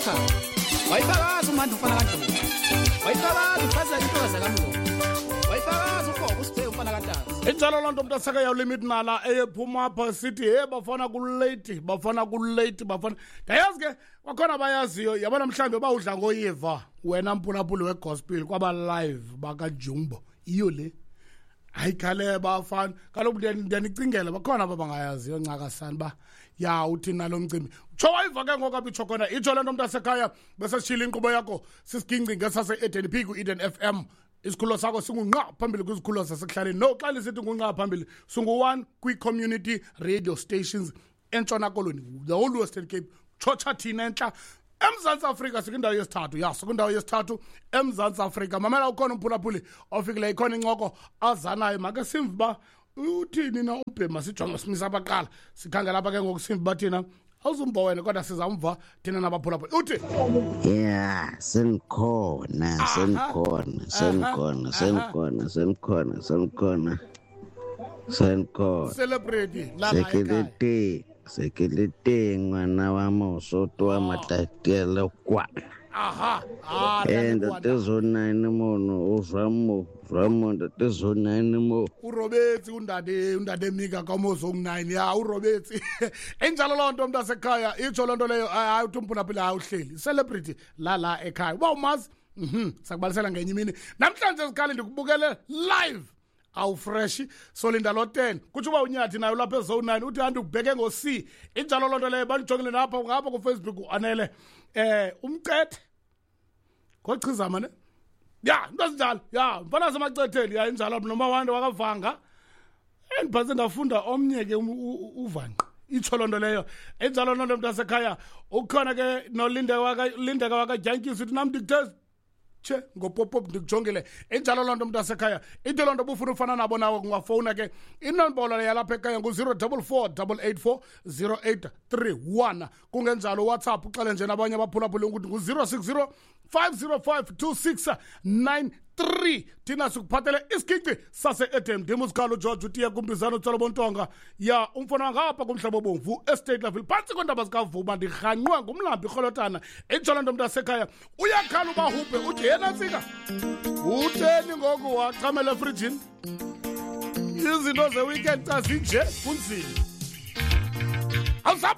kaKhakhaba. Wayifakaza uMandla umfana kaNdlovu. Wayifakaza uFazela intokazi kaMngoma. Wayifakaza uGogo uSiphe umfana kaNtazi. Injalo loo nto mntaseka yawulimit nala eyephuma apha sithi he bafana kulate, bafana kulate, bafana. Ndayazi ke kwakhona abayaziyo, yabona mhlawumbi bawudla ngoyiva wena mphulaphuli wegospel kwaba live bakaJumbo. Iyo le. Hayi khale bafana, kaloku ndiyanicingela bakhona aba bangayaziyo ncakasana uba ya uthini nalo mcimbi. Tsho wayiva ke ngoku apha itsho khona, itsho le nto mntasekhaya besesitshile inkqubo yakho sisigingci ngesase-Eden P ku-Eden FM. Isikhululo sakho singunqa phambili kwizikhululo zasekuhlaleni. No, xa lisithi ngunqa phambili singu-1 kwi-community radio stations eNtshona Koloni, the whole Western Cape. Tshotsha thina entla eMzantsi Afrika sikwindawo yesithathu. Ya, sikwindawo yesithathu eMzantsi Afrika. Mamela, ukhona umphulaphuli ofikileyo, ikhona incoko azanayo. Make simve uba uthini na umbhema, sijonge simisa abaqala sikhangela apha ke ngoku simve uba thina awuzumva wena kodwa sizamva thina nabaphulaphuli. Uthi Ya, sengikhona, sengikhona, sengikhona, sengikhona, sengikhona, sengikhona, sengikhona. Celebrity la la ekhaya. Sekilete, sekilete ngwana wa Mosotho wa Matatiele kwa. Aha. Ah, Ntate zone 9 mono, o jwang mo, jwang mo, ntate zone 9 mo. O robetse undade Mika ka mo zone 9. Ya, o robetse. Enjalo loo nto mntasekhaya, itsho loo nto leyo, hayi uthi umphulaphuli hayi uhleli. Celebrity la la ekhaya. Uba umazi? Sakubalisela ngenye imini. Namhlanje sikhali ndikubukele live. Awufresh solinda lo 10 kutsho uba unyathi nayo lapha ezone 9 uthi handi ubheke ngo C. Injalo loo nto leyo, bandijongile napha ngapha ku Facebook uanele umcethe ngochizama ne ya into ezinjalo ya mfana semacetheni ya injalo noma wande wakavanga endiphantse ndafunda omnye ke uvanqa itsho loo nto leyo. Injalo loo nto mntasekhaya. Ukhona ke nolindeka wakaJantyiso uthi nam ndikuthe tshe ngopopop ndikujongile. Injalo loo nto mntasekhaya. Into loo nto ubufuna ufana nabo nawe ungafowuna ke inombolo yalapha ekhaya ngu-zero double four double eight four zero eight three one. Kungenjalo WhatsApp uxele nje nabanye abaphulaphuli ukuthi ngu-060 505 2693. Thina sikuphathele isiginci sase-Eden. Ndim usikhalo George utiye kumbizano utsolo bontonga ya umfana ngapha kumhlaba obomvu estate level phantsi kweendaba zikaVuma ndirhanqwe ngumlambi irholotana. Injalo nto mntasekhaya. Uyakhala ubahubhe uthi yena ntsika utheni ngoku wachamela efrijini izinto ze-weekend xa zinje kunzima. Awusap.